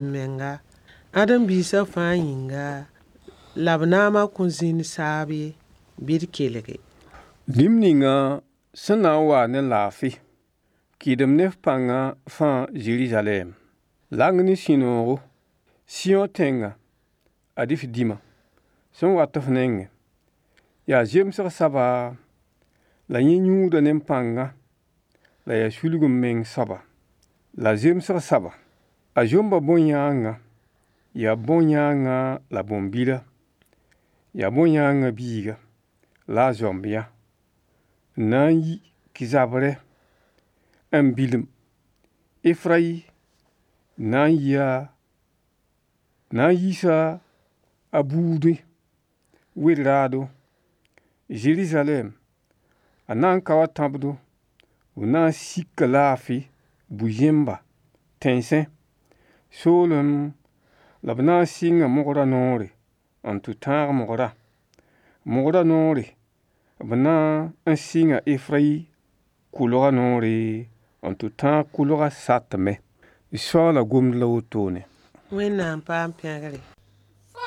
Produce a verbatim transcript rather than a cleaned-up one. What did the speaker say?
Menga ãdem-biisã fãa yĩnga la b naamã kõn zĩnd saab ye, bɩ d kelge. Dĩm ninga sẽn na n wa ne laafɩ, kɩɩdem ne f pãngã fãa Zerizalɛɛm. Lang ne sũ-noogo, Sɩyõ tẽnga, ad-y f dĩma sẽn wat f nengẽ. Yaa zemsg soaba, la yẽ yũuda ne pãnga, la yaa sulg-m-meng soaba. La zemsg soaba, a zomba bõn-yãangã, yaa bõn-yãangã la bõn-bila, yaa bõn-yãangã biiga la a zoamb yã, n na n yi zabrɛ n bilem Efrayi na n yia na n yiisa a buudẽ wel-raado. Zerizalɛɛm a na n kao a tãbdo, b na n sika laafɩ bu-zẽmba tẽnsẽ soolem la b na n sɩnga mogrã noore n tɩ tãag mogrã. Mogrã noore b na n sɩnga Efrayi kʋlgã noore n tɩ tãag kʋlgã satmẽ. Soaala gomd la wotone. Wẽnnaam paam pẽgre.